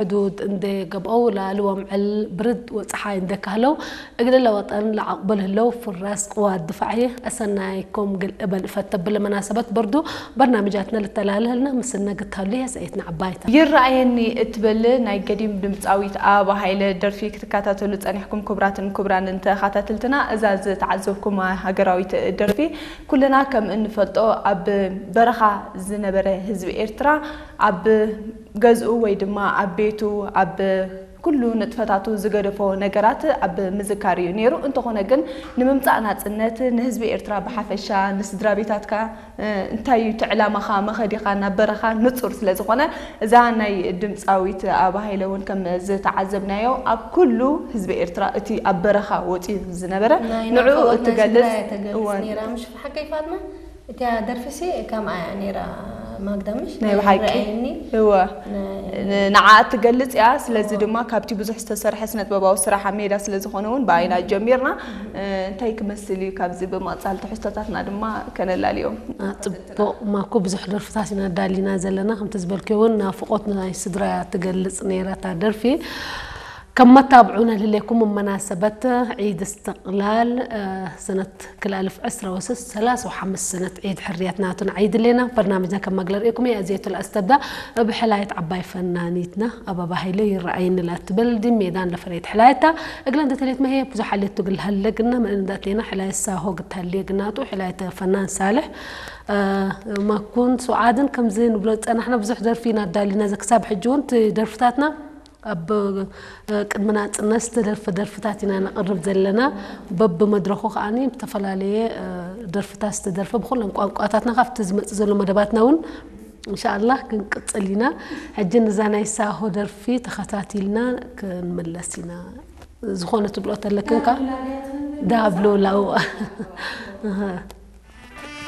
ሕዱድ እንደ ገብአው ለአልወም ዕል ብርድ ወፀሓይ እንደ ካህለው እግል ለወጠን ለዓቅበል ህለው ፍራስ ቅዋት ድፋዕ እየ። አሰናይኩም ግል እበል እፈተብል መናሰበት ብርዱ በርናምጃትነ ልተላልህልና ምስነ ግታሉ የሰኤትና ዓባይታ። ይረኣየኒ እትብል ናይ ገዲም ድምፃዊት ኣበባ ሃይለ ደርፊ ክትከታተሉ ጸኒሕኩም ክቡራትን ክቡራንን ተኸታተልትና፣ እዛ ዝተዓዘብኩማ ሃገራዊት ደርፊ ኩልና ከም እንፈልጦ ኣብ በረኻ ዝነበረ ህዝቢ ኤርትራ ኣብ ገዝኡ ወይ ድማ ኣብ ቤቱ ኣብ ኩሉ ንጥፈታቱ ዝገደፎ ነገራት ኣብ ምዝካር እዩ ነይሩ። እንተኾነ ግን ንምምጻእ ናጽነት ንህዝቢ ኤርትራ ብሓፈሻ ንስድራ ቤታትካ እ፣ እንታይ እዩ እቲ ዕላማኻ መኸዲኻ ናብ በረኻ ንጹር ስለ ዝኾነ እዛ ናይ ድምፃዊት ኣበባ ሃይለ እውን ከም ዝተዓዘብናዮ ኣብ ኩሉ ህዝቢ ኤርትራ እቲ ኣብ በረኻ ወፂኡ ዝነበረ ናይ ንዕኡ ናፍቆት ናይ እትገልጽ ስድራ እያ ተገልጽ እወ። ነይራ። ምሽ ሓቀይ ፋጥማ እቲያ ደርፊሲ ከምኣ እያ ነይራ። ማግዳ ምሽ ናይ ብሓቂ ረኣየኒ እወ ናይ ንዓ እትገልጽ እያ። ስለዚ ድማ ካብቲ ብዙሕ ዝተሰርሐ ስነጥበባዊ ስራሕ ኣብ ሜዳ ስለ ዝኾነ እውን ብኣይና ጀሚርና እ፣ እንታይ ክመስል እዩ ካብዚ ብምቕጻል ትሕዝቶታትና ድማ ከነላልዮም። ጽቡቕ ማኩ ብዙሕ ደርፍታት ኢና ዳሊና ዘለና። ከምቲ ዝበልክዮ እውን ናፍቆት ናይ ስድራ ትገልጽ ነይራ እታ ደርፊ። ከም መታብዑ ነልህሌኩም መናሰበት ዒድ እስትቕላል ሰነት ክልኣልፍ ዕስራ ወስስ ሰላሳ ወሓምስ ሰነት ዒድ ሕርያት ናቱን ዒድ ሌና በርናምጅና ከም መግለር ኢኩም እየ ኣዘየቱ ለኣስተብዳ ብሕላየት ዓባይ ፈናኒትና ኣበባ ሃይለ ይረኣይኒ ላ ትብል ድሜዳን ለፈሬት ሕላየታ እግለ እንደ ተሌት መሄ ብዙ ሓሌት ትግል ሃለግና መእንዳት ሌና ሕላየት ሳሆ ግታሌ ግናጡ ሕላየት ፈናን ሳልሕ ማኩን ሱዓድን ከምዚ ንብሎ ጸናሕና ብዙሕ ደርፊ ኢና ኣዳሊና ዘክሳብ ሕጂ እውን ደርፍታትና ኣብ ቅድሚ ናጽነት ዝተደርፈ ደርፍታት ኢና ነቕርብ ዘለና። በብመድረኹ ከዓኒ ብተፈላለየ ደርፍታት ዝተደርፈ ብኹለን ቋንቋታትና ካብቲ ዝመጽእ ዘሎ መደባትና እውን እንሻኣላህ ክንቅጽል ኢና። ሕጂ ንዛ ናይ ሳሆ ደርፊ ተኸታቲልና ክንምለስ ኢና። ዝኾነ ትብሎ ተለክንካ ዳብሎላው